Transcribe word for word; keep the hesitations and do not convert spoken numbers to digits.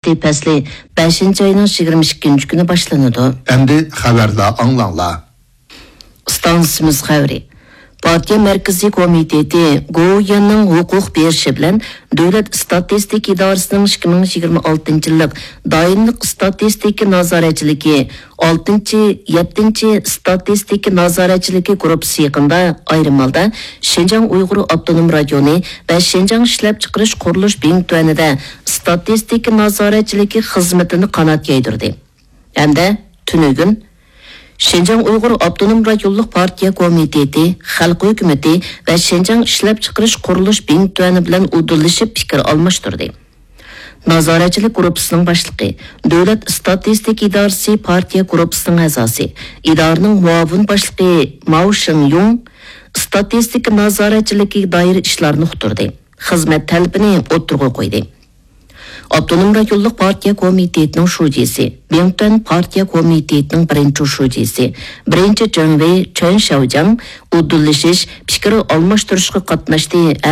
پەسلى بەشىنچى ئاينىڭ يىگىرمە ئىككىنچى كۈنى باشلىنىدۇ. ئەمدى خەۋەرلەر ئاڭلاڭلار. ئىستانسىمىز خەۋىرى. پارتىيە مەركىزىي كومىتېتى گوۋۇيۈەننىڭ ھوقۇق بېرىشى بىلەن دۆلەت ئىستاتىستىكا ئىدارىسىنىڭ ئىككى مىڭ يىگىرمە ئالتىنچى يىللىق دائىملىق ئىستاتىستىكا نازارەتچىلىكى ئالتىنچى، يەتتىنچى ئىستاتىستىكا نازارەتچىلىكى گۇرۇپپىسى يېقىندا ئايرىم ھالدا شىنجاڭ ئۇيغۇر ئاپتونوم رايونى ۋە شىنجاڭ ئىشلەپچىقىرىش قۇرۇلۇش بىڭتۈەنىدە ئىستاتىستىكا نازارەتچىلىكى خىزمىتىنى قانات يايدۇردى. ھەمدە تۈنۈگۈن شىنجاڭ ئۇيغۇر ئاپتونوم رايونلۇق پارتىيە كومىتېتى، خەلق ھۆكۈمىتى ۋە شىنجاڭ ئىشلەپچىقىرىش قۇرۇلۇش بىڭتۈەنى بىلەن ئۇدۇللىشىپ پىكىر ئالماشتۇردى. نازارەتچىلىك گۇرۇپپىسىنىڭ باشلىقى، دۆلەت ئىستاتىستىكا ئىدارىسى پارتىيە گۇرۇپپىسىنىڭ ئەزاسى، ئىدارىنىڭ مۇئاۋىن باشلىقى ماۋ شېڭيۇڭ ئىستاتىستىكا نازارەتچىلىكىگە دائىر ئىشلارنى ئۇقتۇردى، خىزمەت تەلىپىنى ئوتتۇرىغا قويدى. ئاپتونوم رايونلۇق پارتىيە كومىتېتىنىڭ شۇجىسى، بىڭتۈەن پارتىيە كومىتېتىنىڭ بىرىنچى شۇجىسى، بىرىنچى جېڭۋېي چېن شياۋجياڭ ئۇدۇللىشىش، پىكىر ئالماشتۇرۇشقا قاتناشتى ھەم